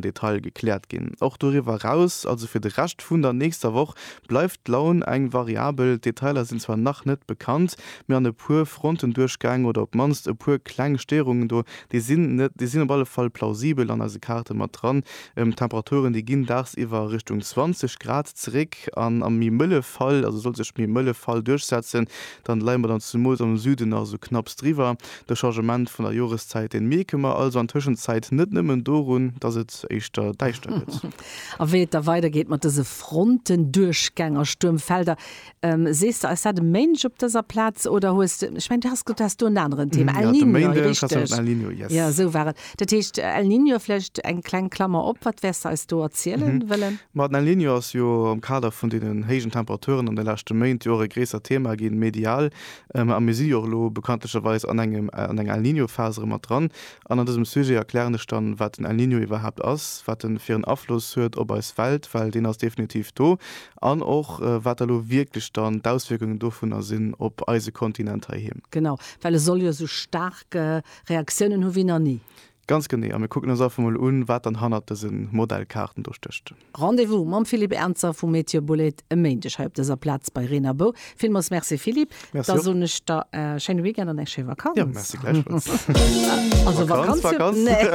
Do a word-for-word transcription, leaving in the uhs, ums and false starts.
Detail gekläert ginn. Och doriwwer eraus, also fir de Rescht vun der nächster Woch, bleift d'Laun eng variabel. D'Detailer sinn zwar nach net bekannt, mee an e puer Frontenduerchgäng oder op d'mannst e puer kleng Stéierungen do, déi sinn net, déi sinn op alle Fall plausibel an eise Kaarte mat dran. D'Temperaturen, déi ginn dagsiwwer Richtung zwanzeg Grad zeréck an am méi mëlle Fall, also sollt sech méi mëlle Fall duerchsetzen, dann leie mer dann zumools am Süden nach esou knapps driwwer. De Changement vun der Joreszäit, deen mierke mer also an Tëschenzäit net nëmmen dorun, dass et éischter däischter gëtt. A wéi et da weidergeet mat dëse Frontenduerchgäng a Stuermfelder, sees de eis dat e Méindeg op dëser Plaz oder hues de, ech mengen, du has gesot, du häss do en aneren Thema, El Niño, richteg? El Niño, yes. Jo, esou war et. Dat heescht, El Niño, vläicht eng kleng Klammer op, wat wäers de eis do erzielen wëllen? Ma den El Niño ass jo am Kader vun deenen héijen Temperaturen an de leschte Méint jo och e gréissert Thema ginn, medial. A mir si jo och elo bekanntlecherweis an engem, an enger El Niño-Phas erëm mat dran. An an dësem Sujet erklären ech dann, wat den El Niño iwwerhaapt ass, wat en fir en Afloss huet op eis Welt, well deen ass definitiv do, an och wat da lo wierklech dann d'Auswierkungen dovunner sinn op eise Kontinent heiheem. Genau, well e soll jo esou staark Reaktiounen hu wéi nach ni. Ganz genee, a mir kucken eis einfach mol un, wat dann hannert dëse Modellkaarten do stécht. Rendez-vous mam Philippe Ernzer vu Meteor Bullet e Méindeg hei op dëser Plaz bei Reen a Bou. Villmools Merci Philippe. Merci Da och. soen ech der e schéine Weekend an eng schéi Vakanz. Jo, merci gläichfalls. Also Vakanz, Vakanz, Vakanz. nee.